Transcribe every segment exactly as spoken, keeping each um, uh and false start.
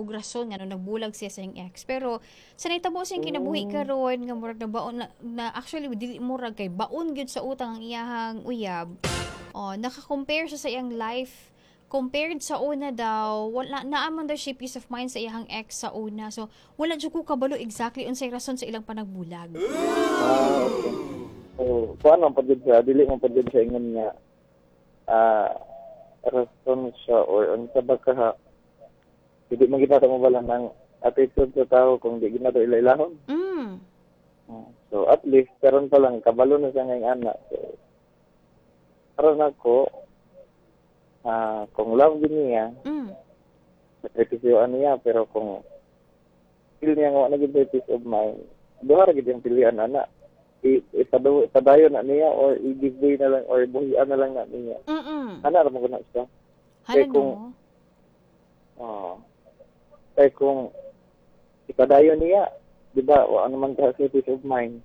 og rason nga nagbulag siya sa iyang ex. Pero sa nahitabo sa iyang kinabuhi karon nga murag na baon na, na actually dili murag kay baon gyud sa utang ang iyahang uyab. Oh, naka-compare siya sa iyang life compared sa una daw, wala naa man daw siya peace of mind sa iyang ex sa una. So, wala jud ko kabalo exactly unsay rason sa ilang panagbulag. Ah, okay. So, kuan man pa jud siya, dili man pa jud siya ingon nga ah rason siya or unsa ba ka hindi man kita mo ng attitude sa tao kung di ginato ila-ilahon. Mm. Ah, So, at least karon pa lang kabalo na siya ngayong ana. So, karon ako ah kung love gid niya, Mm. sakripisyoan niya pero kung feel niya nga wala na gid peace of mind, duha ra gid yung pilian ana. I ipadayo ipadayon na niya or i-give way na lang or buhian na lang na niya. Mm. Ana ra man na siya. Hala Kaya kung- no. Oo. Kaya kung ipadayon niya, di ba, wa naman ka sa peace of mind.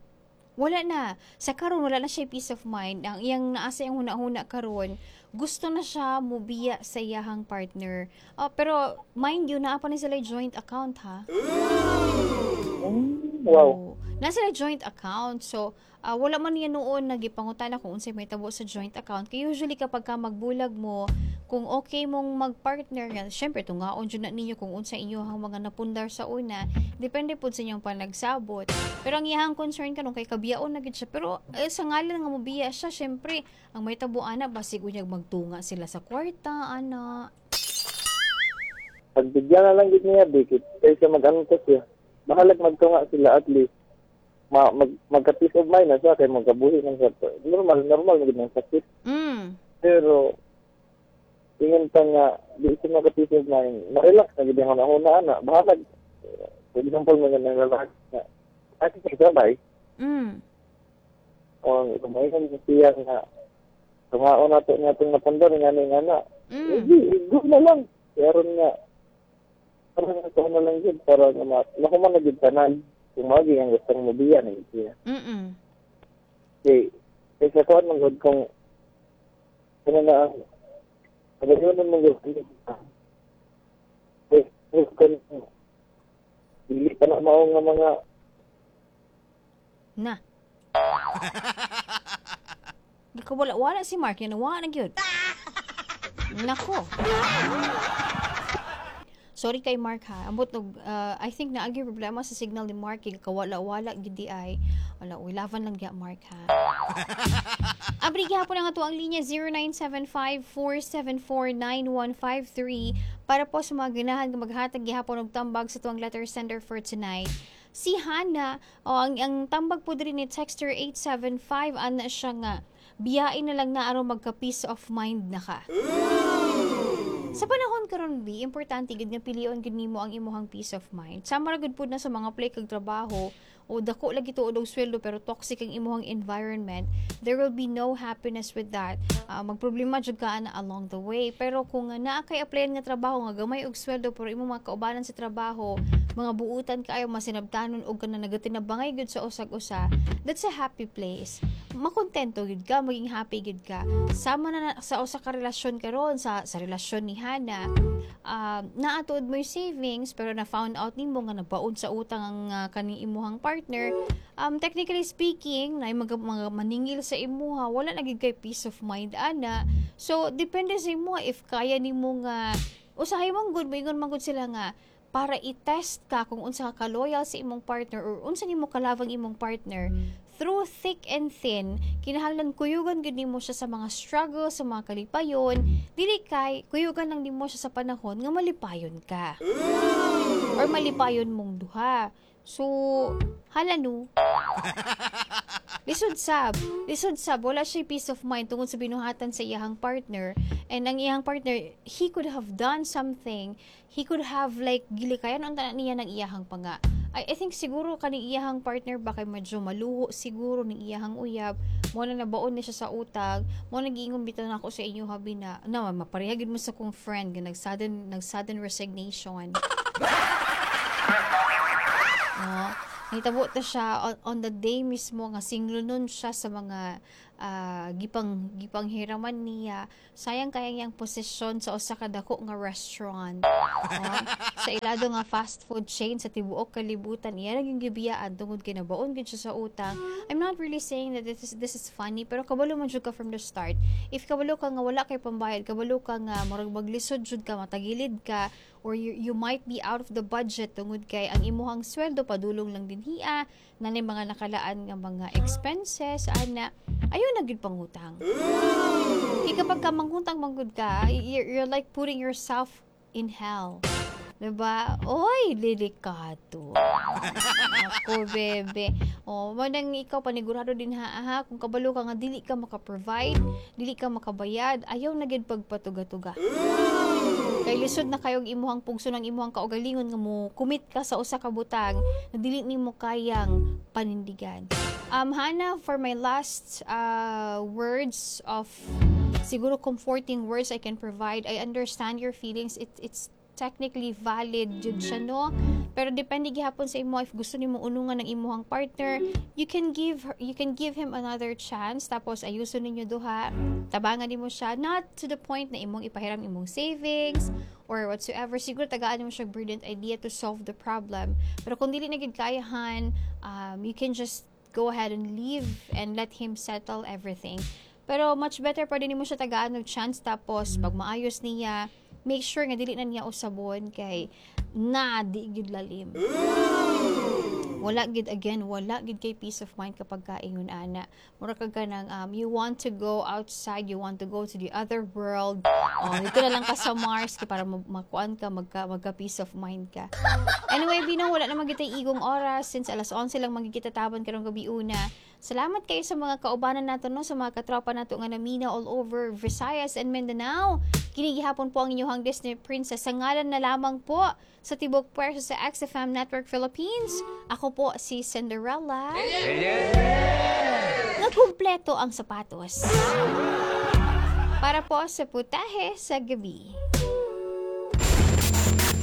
Wala na. Sa karon wala na siya peace of mind. Ang iyang naa sa iyang huna-huna karon, gusto na siya mubiya sa iyahang partner. Ah, pero mind you, naa pa ni sila joint account ha. Mm, wow. Oo. Naa sila joint account. So, ah, wala man niya noon nagipangutana kung unsay mahitabo sa joint account. Kay usually kapag ka magbulag mo, kung okay mong magpartner, nga, syempre tungaon jud na ninyo kung unsa inyo ang mga napundar sa una, depende pud sa inyong panagsabot. Pero ang iyang concern karon kay kabiyaon na gid siya. Pero eh, sa ngalan nga mobiya siya, syempre ang mahitabo ana basig unyag magtunga sila sa kwarta ana. Pagbigyan na lang gid niya, dikit. Kaysa mag-ano siya. Bahalag magtunga sila at least. Ma, mag, magka-peace of mind na siya kay magkabuhi ng siya. Normal, normal na gid ng sakit. Mm. Pero, ingon pa nga, di siya maka-peace of mind. Ma-relax na gid ang huna ana. Bahalag, for example, mga nang lalaki nga, at sa sabay, Mm. o kumain siya nga, tungaon nato nga itong napundar nga ni nga na. Mm. Hindi, go na lang. Pero nga, parang ito na lang yun, para nga ma, makuman na gid tanan. Kung magi ang gustong mobiya na gid siya. Mm. Kay, kay sa kuan man gud kung ano na ang pagayon man gud kay kung dili pa na mao nga mga Na. Wala wala si Mark yan wala na gyud. Nako. Sorry kay Mark ha. Ambot og uh, I think naagi problema sa signal ni Mark kay kawala-wala gid di ay. Wala, uy, laban lang diya Mark ha. Abri gihapon ang ato ang linya zero nine seven five four seven four nine one five three para po sa mga ganahan nga maghatag gihapon og tambag sa tuang letter sender for tonight. Si Hana, o ang, ang tambag po diri ni texter eight seven five, ana siya nga biyain na lang na aron magka peace of mind na ka. Sa panahon karon bi, importante gid nga pilion gid nimo ang imuhang peace of mind. Sama ra gud pud na sa mga play kag trabaho o dako lagi tuod og sweldo pero toxic ang imuhang environment, there will be no happiness with that. Uh, magproblema jud ka ana along the way. Pero kung nga naa kay applyan nga trabaho nga gamay og sweldo pero imong mga kaubanan sa trabaho, mga buutan kaayo masinabtanon og kana nagatinabangay gud sa usag-usa, that's a happy place. Makontento gud ka, maging happy gud ka. Sama na, na sa usa ka relasyon karon sa sa relasyon ni Hana, uh, naatuod mo yung savings pero na found out nimo nga nabaon sa utang ang uh, kaning imuhang partner. Um, technically speaking, na mga, mga maningil sa imuha, wala na gid kay peace of mind ana. So depende sa imuha if kaya nimo nga usahay man gud, moingon man gud sila nga para i-test ka kung unsa ka loyal sa imong partner or unsa nimo kalavang imong partner through thick and thin, kinahanglan kuyugan gud nimo siya sa mga struggle, sa mga kalipayon, dili kay kuyugan lang nimo siya sa panahon nga malipayon ka or malipayon mong duha. So, hala no. Lisod sab. Lisod sab. Wala siya peace of mind tungod sa binuhatan sa iyahang partner. And ang iyahang partner, he could have done something. He could have like, gilikayan ang tanan niya ng iyahang panga. I, I think siguro kani iyahang partner ba kay medyo maluho siguro ni iyahang uyab. Mo na nabaon ni siya sa utang. Mo na giingon bitaw na ako sa inyo habi na, na mapareha gid mo sa kong friend nga nag sudden nag sudden resignation. No? Nahitabo ta siya on, on the day mismo nga single nun siya sa mga ah, gipang gipanghiraman niya. Sayang kaya iyang posisyon sa usa ka dako nga restaurant. Oh, sa ilado nga fast food chain sa tibuok kalibutan, iya ra gyung gibiyaan tungod kay nabaon gyud siya sa utang. I'm not really saying that this is this is funny, pero kabalo man jud ka from the start. If kabalo ka nga wala kay pambayad, kabalo ka nga murag maglisod jud ka, matagilid ka, or you, you might be out of the budget tungod kay ang imuhang sweldo padulong lang dinhia, nanay mga nakalaan nga mga expenses ana, ayaw na gyud pangutang. Kay kapag ka mangutang manggud ka, you're, you're like putting yourself in hell. Diba? Oy, delikado. Ako, bebe. Oh, manang ikaw panigurado din ha, ha, kung kabalo ka nga dili ka maka-provide, dili ka makabayad, ayaw na gid pagpatuga-tuga. Kay lisod na kayog imuhang pugso ng imuhang kaugalingon nga mo commit ka sa usa ka butang na dili nimo kayang panindigan. Um Hannah, for my last uh, words of siguro comforting words I can provide, I understand your feelings. It, it's technically valid jud siya, no? Pero depende gihapon sa imo. If gusto nimo unungan ng imuhang partner, you can give her, you can give him another chance, tapos ayuson ninyo duha, tabangan nimo siya, not to the point na imong ipahiram imong savings or whatsoever. Siguro tagaan mo siya brilliant idea to solve the problem. Pero kung dili na gid kayahan, um, you can just go ahead and leave and let him settle everything. Pero much better pa din mo siya tagaan og chance, tapos pag maayos niya, make sure nga dili na niya usabon kay na di gyud lalim. Wala gid, again, wala gid kay peace of mind kapag kaingon ana. Mura kag kanang um, you want to go outside, you want to go to the other world. Oh, dito na lang ka sa Mars kay para ma- makuan ka, magka, magka peace of mind ka. Anyway, Bino, wala na magitay igong oras since alas onse lang magigita taban karong gabi una. Salamat kayo sa mga kaubanan nato, no, sa mga katropa nato nga namina all over Visayas and Mindanao. Kini gihapon po ang inyong Disney Princess sa ngalan na lamang po sa Tibok Puwersa sa X F M Network Philippines. Ako po si Cinderella. Nga kumpleto ang sapatos. Para po sa Putahe sa Gabi.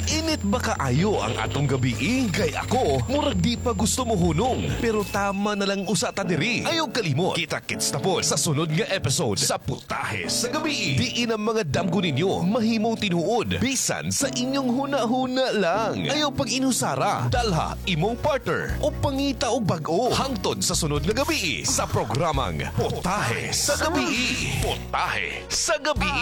Init ba kaayo ang atong gabi? Kay ako, murag di pa gusto mo hunong. Pero tama na lang usa ta diri. Ayaw kalimot. Kita-kits na po sa sunod nga episode sa Putahe sa Gabi. Diin ang mga damgo ninyo mahimong tinuod. Bisan sa inyong huna-huna lang. Ayaw pag inusara. Dalha imong partner o pangita og bag-o. Hangtod sa sunod nga gabi sa programang Putahe sa Gabi. Putahe sa Gabi.